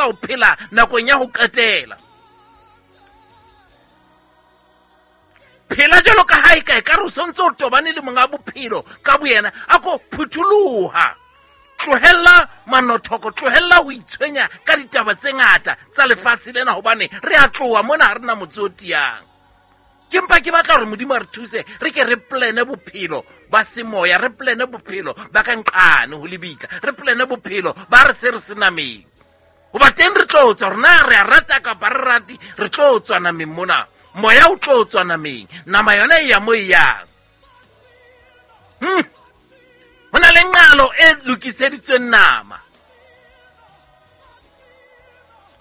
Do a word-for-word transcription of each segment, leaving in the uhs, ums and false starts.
ka o phela nakong ya ho qetela. Phela jwalo ka ha e ka ekare o sontse o tobane le monga bophelo ka boyena. A ko phutholoha, tlohella manothoko, tlohella ho itshwenya ka ditaba tse ngata tsa lefatshe lena, hobane re a tloha mona, ha re na motse o tiyang. Ke mpa ke batla hore Modimo a re thuse, re ke re plane bophelo ba semoya, re plane bophelo ba ka nqane ho lebitla, re plane bophelo ba re se re se nameng. Hoba teng re tlo tswa, rona re a rata kapa re rate, re tlo tswa nameng mona. Moya o tlo tswa nameng, nama yona e ya mo e yang. Hmm. Ho na le nqalo e lokiseditsweng nama,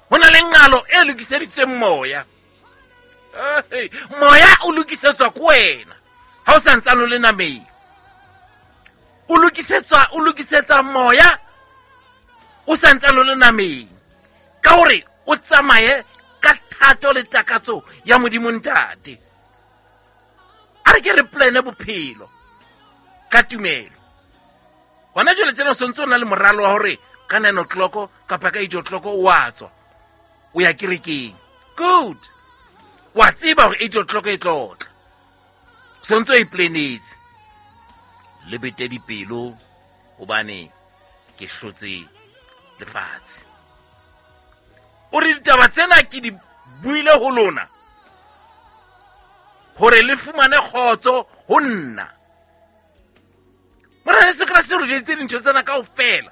ho na le nqalo e lokiseditsweng moya. Hey, moya o lokisetswa ke wena ha o sa ntsane o le nameng. O lokisetswa, o lokisetsa moya o sa ntsane o le nameng, ka hore o tsamaye ka thato le takatso ya Modimo Ntate. A re ke re plane bophelo ka tumelo. Hona jwale tjena o sontse o na le moralo wa hore ka nine o'clock kapa ka eight o'clock o a tswa, o ya kerekeng. Good. Wa tseba hore eight o'clock e tlo tla, o sontse o iplanetse. Le bete dipelo hobane ke hlotse lefatshe. O re ditaba tsena ke di buile ho lona hore le fumane kgotso ho nna. Morena Jesu Kreste re jweditse dintho tsena kaofela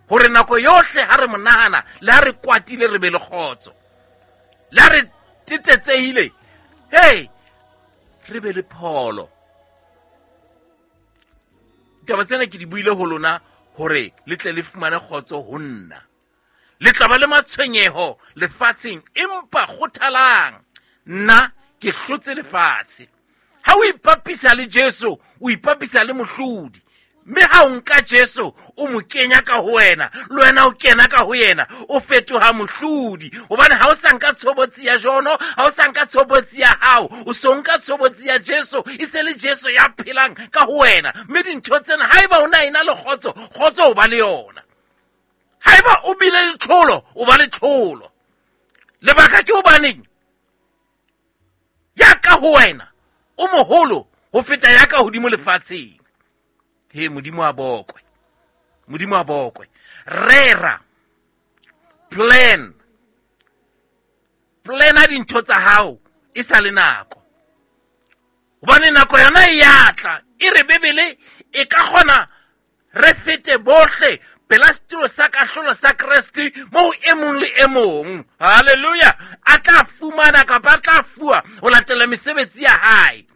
hore nako yohle ha re mo nahana, le ha re kwatile re be le kgotso, le ha re tetetsehile, hey, re be le pholo. Ditaba tsena ke di buile ho lona hore le tle le fumane kgotso ho nna. Le tla ba le matshwenyeho lefatsheng, empa kgothalang, nna ke hlotse lefatshe. Ha o ipapisa le Jesu, o ipapisa le mohlodi. Mme ha o nka Jesu, o mo kenya ka ho wena, le wena o kena ka ho yena, o fetoha mohlodi. Hobane ha o sa nka tshobotsi ya Jono, ha o sa nka tshobotsi ya hao, o so nka tshobotsi ya Jesu, e se le Jesu ya phelang ka ho wena. Mme dintho tsena, haeba o na ena le kgotso, kgotso o ba le yona. Haeba o bile le tlholo, o ba le tlholo. Lebaka ke hobaneng? Ya ka ho wena o moholo ho feta ya ka hodimo lefatsheng. He, Modimo a bokwe, Modimo a bokwe. Rera, plan, plana dintho tsa hao e sa le nako, hobane nako yona e ya tla. E re Bibele e ka kgona re fete bohle pela setulo sa kahlolo sa Kreste, moo e mong le e mong, hallelujah, a tla fumana kapa a tla fuwa ho latela mesebetsi ya hae.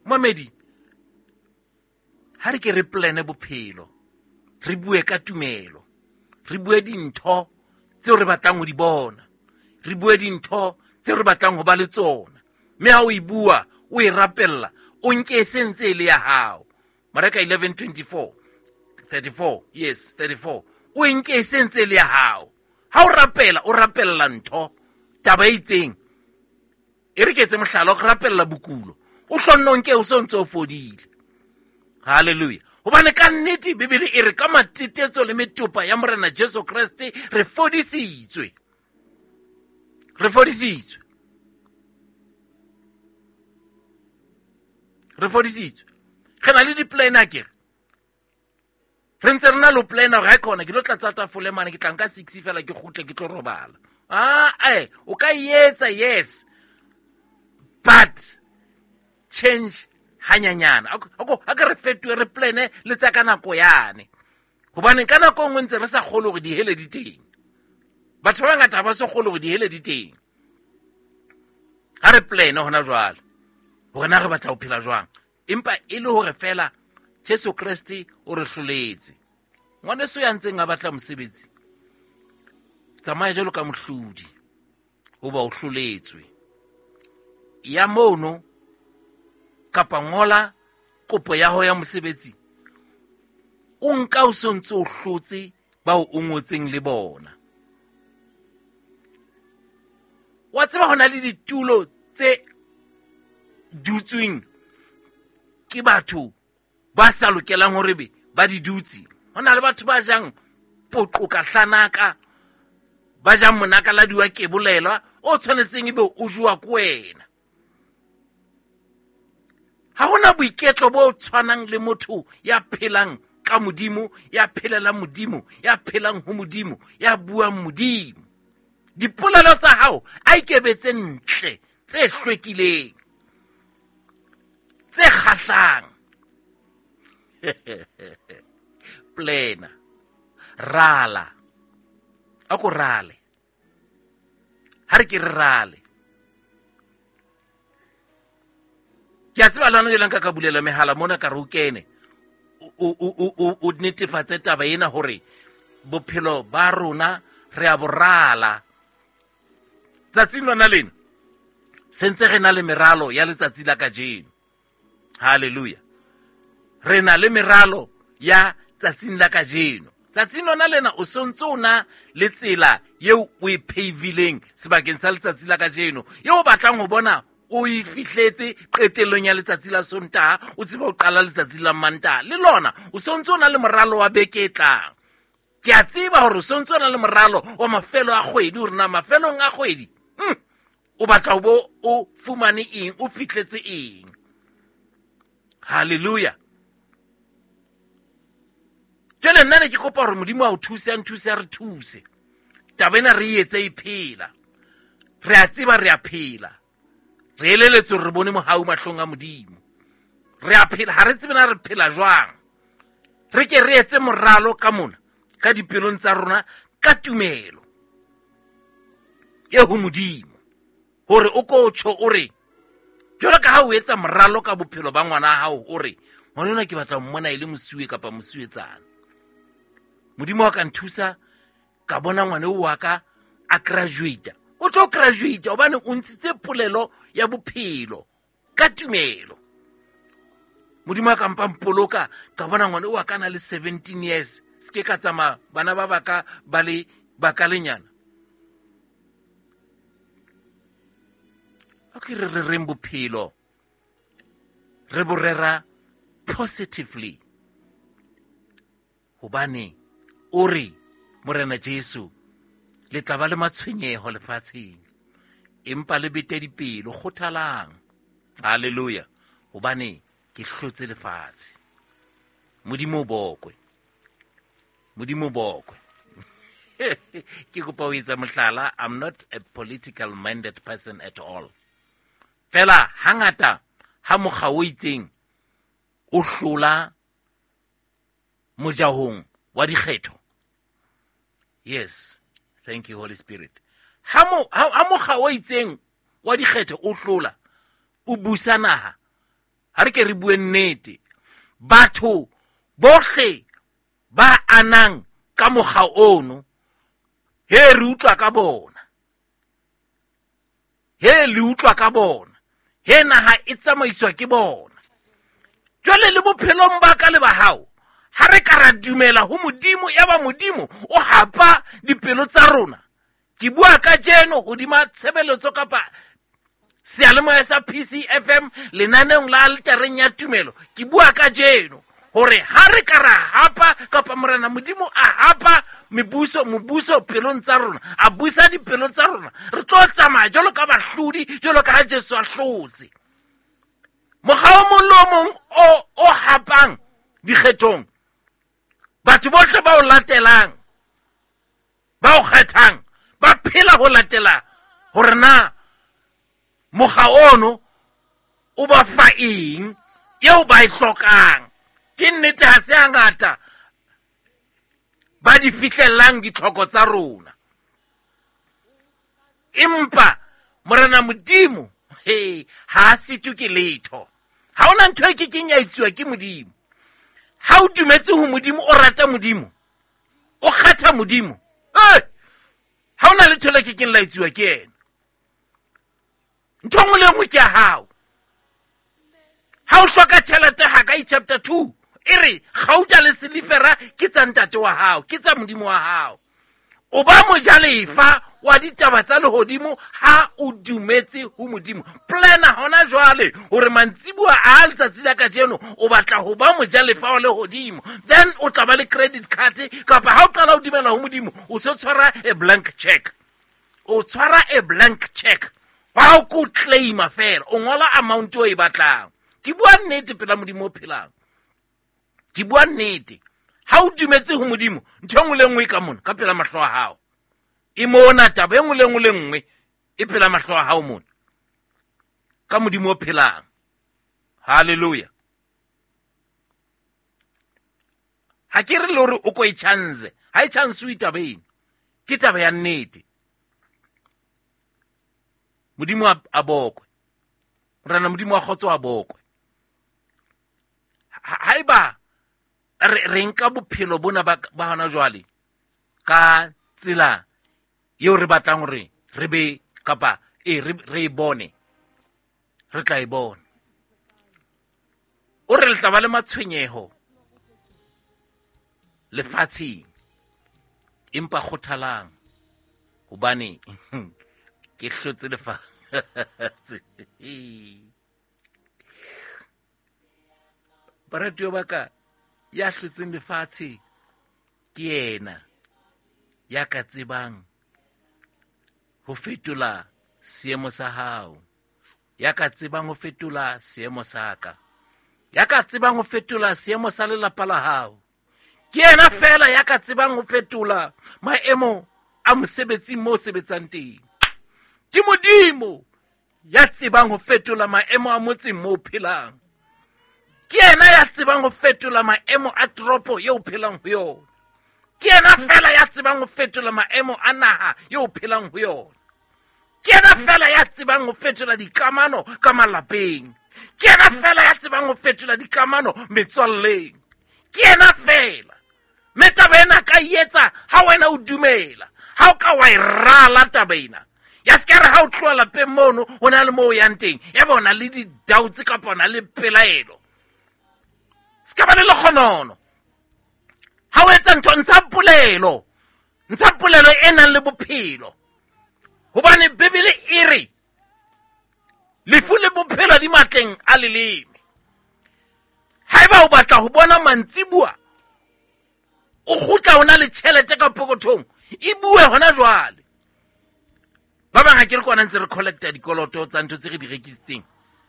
Mamedi, ha re ke re plane bophelo, re bue ka tumelo, re bue dintho tseo re batlang ho di bona, re bue dintho tseo re batlang ho ba le tsona. Mme ha o e bua, o e rapella, o nke e sentse e le ya hao. Mareka eleven twenty-four, thirty-four, yes, thirty-four. O nke e sentse e le ya hao. Ha o rapela, o rapella ntho, taba e itseng. E re ke etse mohlala, o rapella bokulo, o hlonno nke o so ntse o fodile. Hallelujah. Hobane ka nnete Bibele e re ka matetetso le metopa ya Morena Jesu Kreste re fodisitswe. Re fodisitswe. Re fodisitswe. Re na le di-plan akere. Re ntse re na le plan hore ha e khona ke lo tlatsa tafole mane, ke tla nka six fela ke kgutle ke tlo robala. Ah, eh, o ka etsa, yes. But change hanyanyana. Ako a ke re fetohe, re plane le tsa ka nako yane. Hobane ka nako nngwe ntse re sa kgolwe hore dihele di teng. Batho ba bangata ha ba so kgolwe hore dihele di teng. Ha re plane hona jwale hore na re batla ho phela jwang, empa e le hore fela Jesu Kreste o re hloletse. Ngwaneso ya ntseng a batla mosebetsi, tsamaya jwalo ka mohlodi, hoba o hloletswe. Ya mono kapa ngola kopo ya hao ya mosebetsi, o nka o sontse o hlotse bao o ngotseng le bona. Wa tseba hona le ditulo tse dutsweng ke batho ba sa lokelang hore be ba di dutse. Ho na le batho ba jang poqo ka hlanaka, ba jang monakaladi wa kebolelwa o tshwanetseng ebe o jowa ke wena. Ha hona boiketlo bo tshwanang le motho ya phelang ka Modimo, ya phelelang Modimo, ya phelang ho Modimo, ya buang Modimo. Dipolelo tsa hao a ikebetse ntle, tse hlwekileng, tse kgahlang. Plena, rala, a ko rale, ha re ke re rale. Ke a tseba le hona jwale nka ka bulela mehala mona ka re o kene, o, o, o, o, o netefatse taba ena hore bophelo ba rona re a bo rala. Tsatsing lona lena sentse re na le meralo ya letsatsi la kajeno. Hallelujah. Re na le meralo ya tsatsing la kajeno. Tsatsing lona lena o sontse o na le tsela eo o e phavileng sebakeng sa letsatsi la kajeno, eo o batlang ho bona o e fihletse qetellong ya letsatsi la Sontaha, o tsebe ho qala letsatsi la Mantaha. Le lona o sontse o na le moralo wa beke e tlang. Ke a tseba hore o sontse o na le moralo wa mafelo a kgwedi, hore na mafelong a kgwedi hmm, o batla ho bo o fumane eng, o fihletse eng. Hallelujah. Jwale nna ne ke kopa hore Modimo a o thuse, a nthuse, a re thuse. Taba ena re e etse e phela. Re a tseba re a phela. Re eleletswe hore re bone mohau mahlong a Modimo. Re a phela, ha re tsebe na re phela jwang. Re ke re etse moralo ka mona, ka dipelong tsa rona, ka tumelo e ho Modimo. Hore o ko tjho o re, jwalo ka ha o etsa moralo ka bophelo ba ngwana hao, o re, ngwana enwa ke batla ho mmona e le mosuwe kapa mosuwetsana. Modimo wa ka nthusa ka bona ngwana o wa ka a graduate. O tlo graduate hobane o ntshitse polelo ya bophelo ka tumelo. Modimo wa ka mpa mpoloka ka bona ngwana o wa ka na le seventeen years. Se ke ka tsamaya bana ba baka ba le bakalenyana. A ke re re reng bophelo re bo rera positively, hobane o re Morena Jesu le tla ba le matshwenyeho lefatsheng, empa le bete dipelo, kgothalang. Hallelujah. Hobane ke hlotse lefatshe. Modimo o bokwe, Modimo o bokwe. Ke kopa ho etsa mohlala, I'm not a political minded person at all. Fela hangata ha mokga o itseng o hlola mojahong wa dikgetho. Yes, thank you Holy Spirit. Ha mo ha mokga o itseng wa dikgetho o hlola, o busa naha. Ha re ke re bue nnete, batho bohle ba anang ka mokga ono, he re utlwa ka bona, he le utlwa ka bona, he naha e tsamaiswa ke bona. Jwale le bophelong ba ka le ba hao, ha re ka ra dumela ho Modimo, ya ba Modimo o hapa dipelo tsa rona. Ke bua kajeno hodima tshebeletso kapa seyalemoya sa P C F M lenaneong la altareng ya tumelo. Ke bua kajeno hore ha re ka ra hapa kapa Morena Modimo a hapa mebuso, mobuso pelong tsa rona, a busa dipelo tsa rona, re tlo tsamaya jwalo ka bahlodi, jwalo ka ha Jesu a hlotse. Mokga o mong le o mong o, o hapang dikgethong, batho bohle ba o latelang, ba o kgethang, ba phela ho latela hore na mokga ono o ba fa eng eo ba e hlokang. Ke nnete ha se hangata ba di fihlellang ditlhoko tsa rona, empa Morena Modimo he ha a sitwe ke letho. Ha hona ntho e kekeng ya etsuwa ke Modimo. Ha o dumetse ho Modimo, o rata Modimo, o kgetha Modimo, eh ha hona letho le kekeng la etsuwa ke yena. Ntho e nngwe le e nngwe ke ya hao. Ha o hloka tjhelete, Hagai chapter two e re gauta le silifera ke tsa ntate wa hao, ke tsa Modimo wa hao. O ba mojalefa wa ditaba tsa lehodimo ha o dumetse ho Modimo. Plana hona jwale hore mantsibuwa a letsatsi la kajeno o batla ho ba mojalefa wa lehodimo. Then o tla ba le credit card, kapa ha o qala o dumela ho Modimo o se tshwara a blank check. O tshwara a blank check. Wa o ko claima fela, o ngola amount o e batlang. Ke bua nnete pela Modimo o phelang. Ke bua nnete. Ha o dumetse ho Modimo, ntho e nngwe le nngwe ka mona ka pela mahlo a hao. E mona taba e nngwe le nngwe le nngwe e pela mahlo a hao mona. Ka Modimo o phelang. Hallelujah. Ha ke re le hore o ko e chance, ha e chance o taba eno. Ke taba ya nnete. Modimo a bokwe. Morena Modimo wa kgotso a bokwe. Haeba re re nka bophelo bona ba ba hona jwale ka tsela eo re batlang hore re be kapa e re re bone, re tla e bona. O re le tla ba le matshwenyeho lefatsheng, empa kgothalang hobane ke hlotse lefatshe. Baratuwa ba ka, ya hlotseng lefatshe ke yena ya ka tsebang ho fetola seemo sa hao, ya ka tsebang ho fetola seemo sa ka, ya ka tsebang ho fetola seemo sa lelapa la hao. Ke yena fela ya ka tsebang ho fetola maemo a mosebetsing mo sebetsang teng. Ke Modimo ya tsebang ho fetola maemo a motseng mo phelang. Ke yena ya tsebang ho fetola maemo a toropo eo phelang ho yona. Ke yena fela ya tsebang ho fetola maemo a naha eo phelang ho yona. Ke yena fela ya tsebang ho fetola dikamano ka malapeng. Ke yena fela ya tsebang ho fetola dikamano metswalleng. Ke yena fela. Mme taba ena ka etsa ha wena o dumela. Ha o ka wa e rala taba ena. Ya se ka re ha o tloha lapeng mono ho na le moo o yang teng, ya bona le di-doubts kapa ona le pelaelo. Se ka ba le lekgonono. Ha o etsa ntho, ntsha polelo. Ntsha polelo e nang le bophelo. Hobane Bibele e re lefu le bophelo di matleng a leleme. Haeba o batla ho bona mantsibuwa o kgutla o na le tjhelete ka pokothong, e bue hona jwale. Ba bang ha ke re kona ntse re collecta dikoloto tsa ntho tse re di rekisitseng.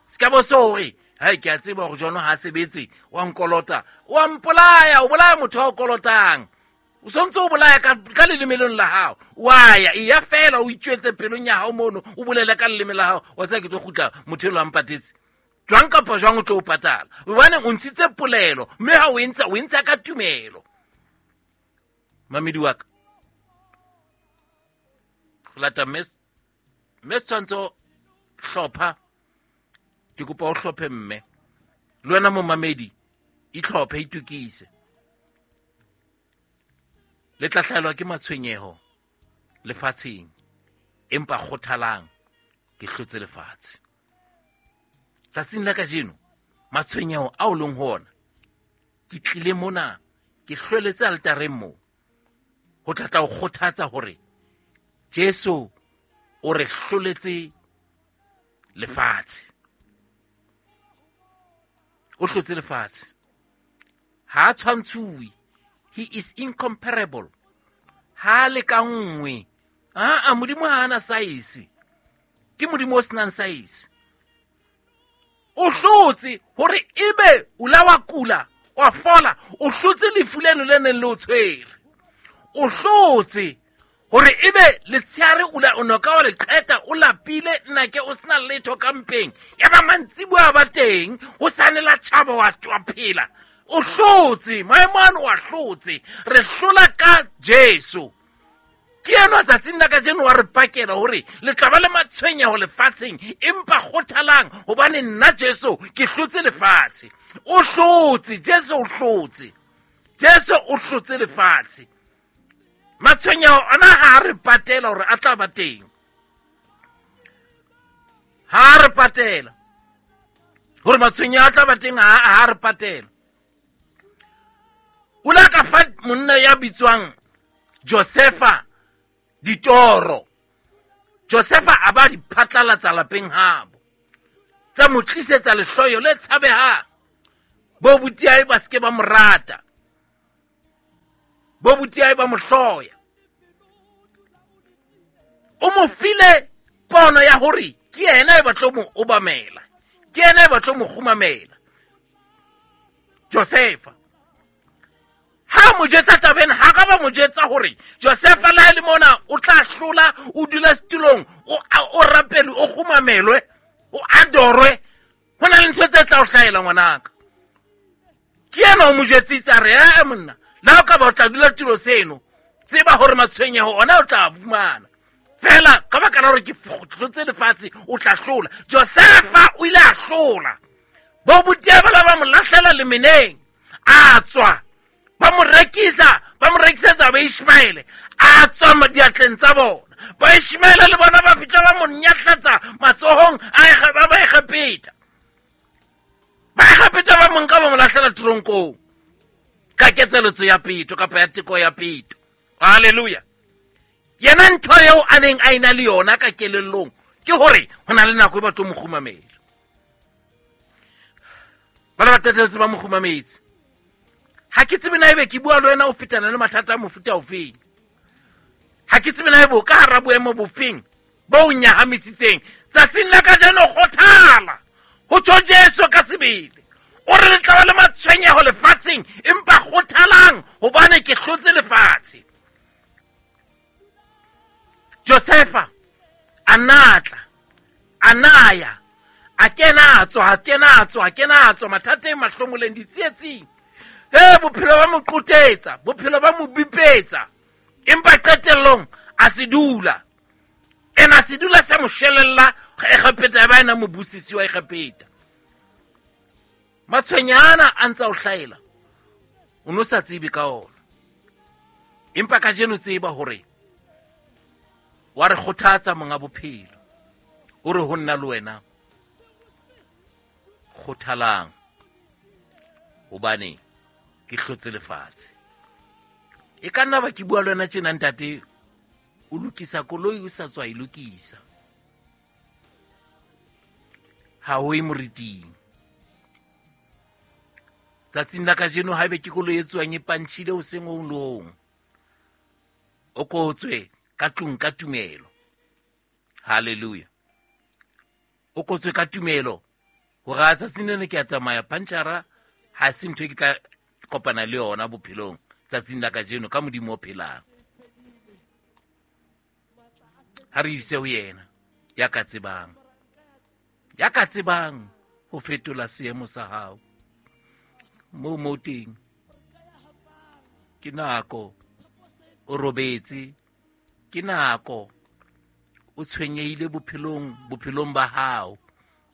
Se ka bo so hore hai ke a tseba hore Jono ha sebetse, wa nkolota, wa mpolaya, o bolaya motho wa o kolotang. O sontse o bolaya ka ka lelemelong la hao. Wa ya e ya fela o itjwetse pelong ya hao mono, o bolele ka leleme la hao, wa tseba ke tlo kgutla motho elo a mpatetse. Jwang kapa jwang o tlo o patala. Hobane o ntshitse polelo, mme ha o e ntsha, o e ntsha ka tumelo. Mamedi wa ka. Lata mes mes tshwantso hlopha. Ke kopa o hlophe mme. Le wena momamedi, itlhophe, itokise. Le tla hlahelwa ke matshwenyeho lefatsheng, empa kgothalang, ke hlotse lefatshe. Tsatsing la kajeno, matshwenyeho ao leng ho ona, ke tlile mona, ke hlweletse altareng moo, ho tla tla o kgothatsa hore Jesu o re hloletse lefatshe. O hlotse lefatshe. Ha a tshwantshuwe. He is incomparable. Ha le ka nngwe. Ah, Modimo ha ana size. Ke Modimo o senang size. O hlotse hore ebe o la wa kula, wa fola, o hlotse lefu leno le neng le o tshwere. O hlotse hore ebe letsheare o la o noka wa le qeta o lapile nnake o sena letho ka mpeng. Ya ba mantsibuwa ba teng, o sane la tjhaba wa wa phela. O hlotse, maemo ano wa hlotse. Re hlola ka Jesu. Ke enwa tsatsing la kajeno wa re pakela hore le tla ba le matshwenyeho lefatsheng, empa kgothalang hobane nna Jesu ke hlotse lefatshe. O hlotse, Jesu o hlotse. Jesu o hlotse lefatshe. Matshwenyeho ana ha re patela hore a tla ba teng. Ha re patela hore matshwenyeho a tla ba teng, ha ha re patela. O la ka fa monna ya bitswang Josefa Ditoro. Josefa a ba di phatlalatsa lapeng habo. Tsa mo tlisetsa lehloyo le tshabehang. Bo butiae ba seke ba mo rata. Bo butiae ba mo hloya. O mo file pono ya hore ke yena e batlo mo obamela. Ke yena e batlo mo kgumamela. Josefa ha mo jetsa tabeng ha ka ba mo jetsa hore Josefa la le mona o tla hlola o dula setulong o o rapele o kgumamelwe o adorwe ho na le ntho tse tla o hlahela ngwanaka. Ke yena o mo jetsitse a re eh monna la o ka ba o tla dula tulo seno tseba hore matshwenyeho ona o tla fumana fela ka baka la hore ke hlotse lefatshe o tla hlola. Josefa o ile a hlola. Bo butia ba ba mo lahlela lemeneng a tswa ba mo rekisa ba mo rekisetsa ba Ishmaele a tswa madiatleng tsa bona. Ba Ishmaele le bona ba fihla ba mo nyahlatsa matsohong a ba ba Egepeta. Ba Egepeta ba mo nka ba mo lahlela tronkong ka ketseletso ya peto kapa ya teko ya peto. Hallelujah. Yena ntho eo a neng a ena le yona ka kelellong ke hore ho na le nako e batlo mo kgumamela. Bana ba qetelletse ba mo kgumametse. Ha ke tsebe na ebe ke bua le wena o fetana le mathata a mofuta ofeng. Ha ke tsebe na ebe o ka hara boemo bofeng bo o nyahamisitseng. Tsatsing la kajeno kgothala ho tjho Jesu ka sebele. O re le tla ba le matshwenyeho lefatsheng empa kgothalang hobane ke hlotse lefatshe. Josefa a natla a naya a kena a tswa a kena a tswa a kena a tswa mathateng mahlomoleng ditsietsing. He bophelo ba mo qotetsa bophelo ba mo bipetsa empa qetellong a se dula. Ena se dula sa mo shelella Egepeta ba ena mobusisi wa Egepeta. Matshwenyana a ntsa o hlaela o no sa tsebe ka ona. Empa kajeno tseba hore wa re kgothatsa monga bophelo. O re ho nna le wena kgothalang hobane ke hlotse lefatshe. E ka nna ba ke bua le wena tjena ntate o lokisa koloi o sa tswa e lokisa. Ha o e moriting. Tsatsing la kajeno haebe ke koloi e tswang e pantjhile o seng o long. O kotswe ka tlung ka tumelo. Hallelujah. O kotswe ka tumelo hore a tsatsing lena ke a tsamaya pantjhara ha se ntho e ke tla kopana le yona bophelong tsatsing la kajeno ka Modimo o phelang. Ha re ise ho yena ya ka tsebang. Ya ka tsebang ho fetola seemo sa hao. Mo mo teng ke nako o robetse ke nako o tshwenyehile bophelong bophelong ba hao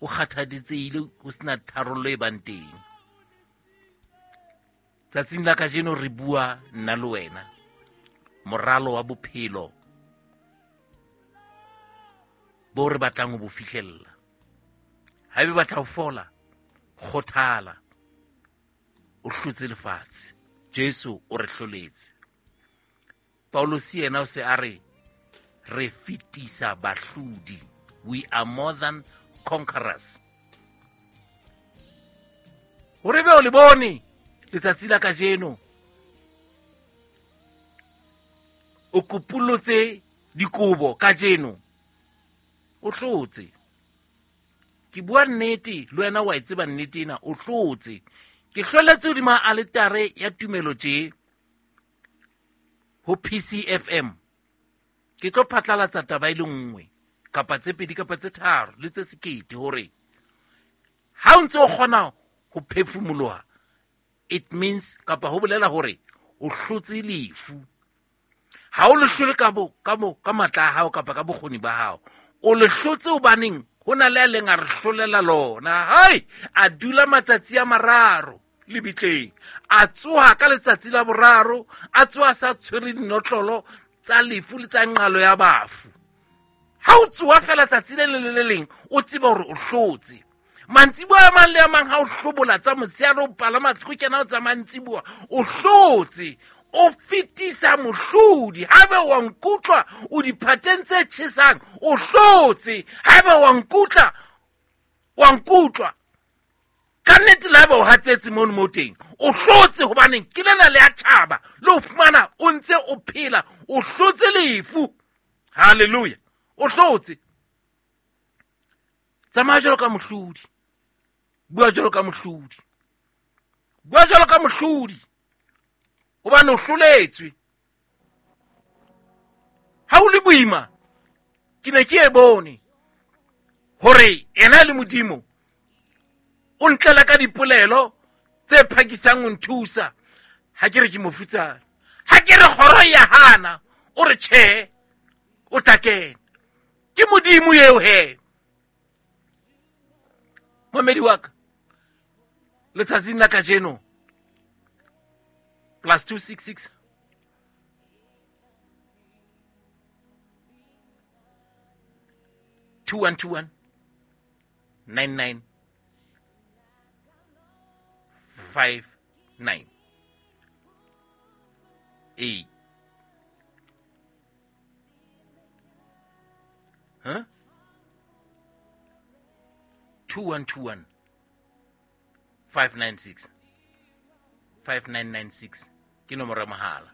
o kgathaditsehile o sena tharollo e bang teng. Tsatsing la kajeno re bua nna le wena moralo wa bophelo bo re batlang ho bo fihlella. Haebe batla ho fola kgothala o hlotse lefatshe. Jesu o re hloletse. Paulus yena o se a re re fetisa bahlodi. We are more than conquerors. Hore be o le bone letsatsi la kajeno o kopulotse dikobo kajeno o hlotse. Ke bua nnete le wena wa e tseba nnete ena o hlotse. Ke hloletse hodima aletare ya tumelo tje ho P C F M. Ke tlo phatlalatsa taba e le nngwe kapa tse pedi kapa tse tharo le tse sekete hore ha o ntse o kgona ho phefumoloha it means kapa ho bolela hore o hlotse lefu. Ha o le hlole ka bo ka bo ka matla a hao kapa ka bokgoni ba hao. O le hlotse hobaneng ho na le a leng a re hlolela lona. Hai a dula matsatsi a mararo lebitleng. A tsoha ka letsatsi la boraro, a tsoha sa tshwere dinotlolo tsa lefu le tsa nqalo ya bafu. Ha o tsoha fela tsatsi le le le leng o tseba hore o hlotse. Mantsiboa a mang le a mang ha o hlobola tsa motshehare o palama go kena o tsa mantsiboa o hlotse. O fetisa mohlodi. Haeba wa nkutlwa o diphateng tse tjhesang, o hlotse. Haeba wa nkutlwa, wa nkutlwa ka nnete, le haeba o hatsetse mono mo teng, o hlotse. Hobaneng ke lena le ya tjhaba le o fumana o ntse o phela, o hlotse lefu. Hallelujah, o hlotse. Tsamaya jwalo ka mohlodi, bua jwalo ka mohlodi, bua jwalo ka mohlodi, hobane o hloletswe. Ha o le boima, ke ne ke e bone hore yena le Modimo o ntlela ka dipolelo tse phakisang ho nthusa. Ha ke re ke mofutsana, ha ke re kgoro ya hana, o re tjhe, o tla kena. Ke Modimo eo he. Momedi wa ka, letsatsing la kajeno, plus two six six two one two one nine nine five nine eight. Huh? Two one two one five nine six five nine nine six ke nomoro ya mohala.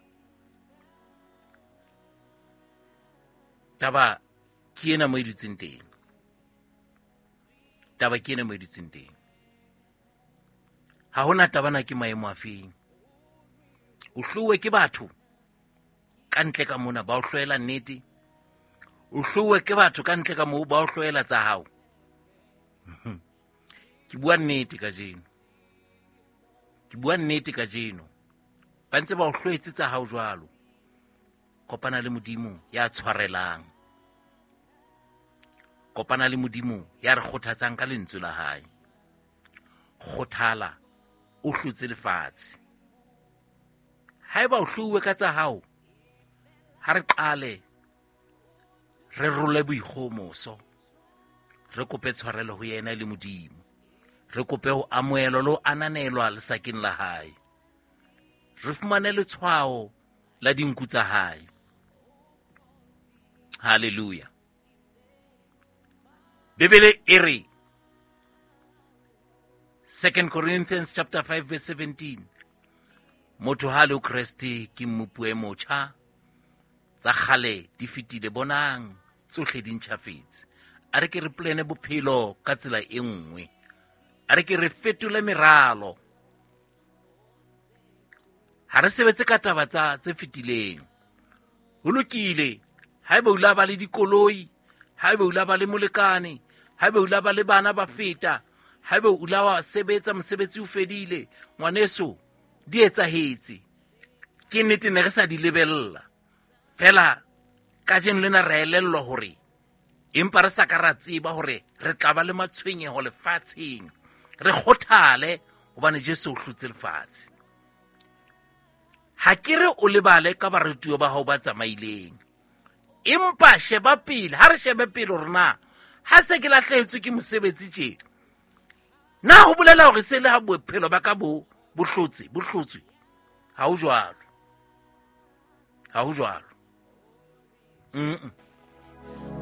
Taba ke ena mo e dutseng teng. Taba ke ena mo e dutseng teng. Ha hona taba na ke maemo a feng. O hlowe ke batho ka ntle ka mona ba o hloela nnete. O hlowe ke batho ka ntle ka moo ba o hloela tsa hao. Ke bua nnete kajeno. Ke bua nnete kajeno. Ba ntse ba o hloetse tsa hao jwalo. Kopana le Modimo ya tshwarelang. Kopana le Modimo ya re kgothatsang ka lentswe la hae. Kgothala, o hlotse lefatshe. Haeba o hlouwe ka tsa hao, ha re qale re role boikgomoso, re kope tshwarelo ho yena le Modimo, re kope ho amohelwa le ho ananelwa lesakeng la hae, re fumane letshwao la dinku tsa hae. Hallelujah. Bibele e re, Second Corinthians chapter five verse seventeen, motho ha le Kreste ke mmupi e motjha, tsa kgale di fetile, bonang tsohle di ntjhafetse. A re ke re plane bophelo ka tsela e nngwe, a re ke re fetole meralo. Ha re sebetse ka taba tsa tse fetileng. Ho lokile haeba o la ba le dikoloi, haeba o la ba le molekane, haeba o la ba le bana ba feta, haeba o la wa sebetsa mosebetsi o fedile, ngwaneso di etsahetse. Ke nnete ne re sa di lebella. Fela kajeno lena re elellwa hore empa re sa ka ra tseba hore re tla ba le matshwenyeho lefatsheng. Re kgothale hobane Jesu o hlotse lefatshe. Ha ke re o lebale ka baratuwa ba hao ba tsamaileng, empa sheba pele. Ha re shebe pele hore na ha se ke lahlehetswe ke mosebetsi tje, na ho bolela hore se le ha bophelo ba ka bo bo hlotse bo hlotswe? Ha ho jwalo, ha ho jwalo. Mm.